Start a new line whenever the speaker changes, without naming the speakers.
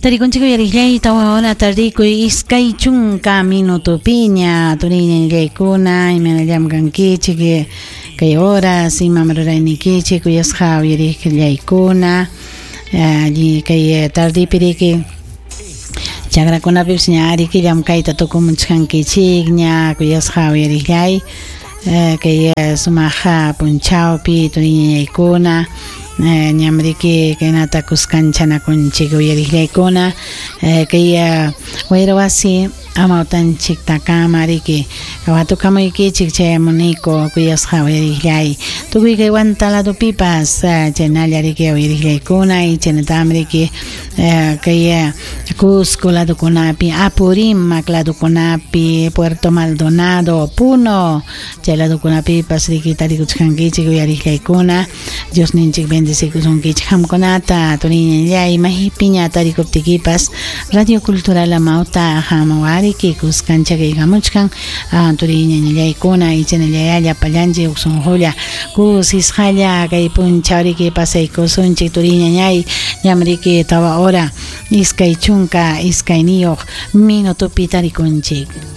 Tarikunchik uyariqllay 4 hora tardikuy 20 minutopiña turiñañallaykuna imaynallam kankichik kay horas imam ruraynikichik kuyasqa uyariqllaykuna alli kay tardipi riki chakrakunapipis ña ariki llamkayta tukumuchkankichikña kuyasqa uyariqllay kay sumaq punchawpi turiñañaykuna ñam riki kaynata kuskanchanakunchik uyariqllaykuna kay wayra wasi amawtanchiktakama riki watukamuykichik chayamuniku kuyasqa uyariqllay tukuy kay Huanta ladopipas chaynalla riki uyariqllaykuna y chaynatam riki kay Cusco ladokunapi, Apurímac ladokunapi, Puerto Maldonado, Puno chay ladokunapipas riki tarikuchkankichik uyariqllaykuna Diosninchik bendecikusunkichik qamkunata turiñallay maypiña tarikuptikipas Radio Cultural Amauta hamuwariki kuskanchakaykamuchkan turiñañallaykuna y chaynallaya llapallanchik huk sunqulla kusisqalla kay punchaw riki pasaykusunchik turiñañay ñam riki 4 hora 22 minutopi tarikunchik.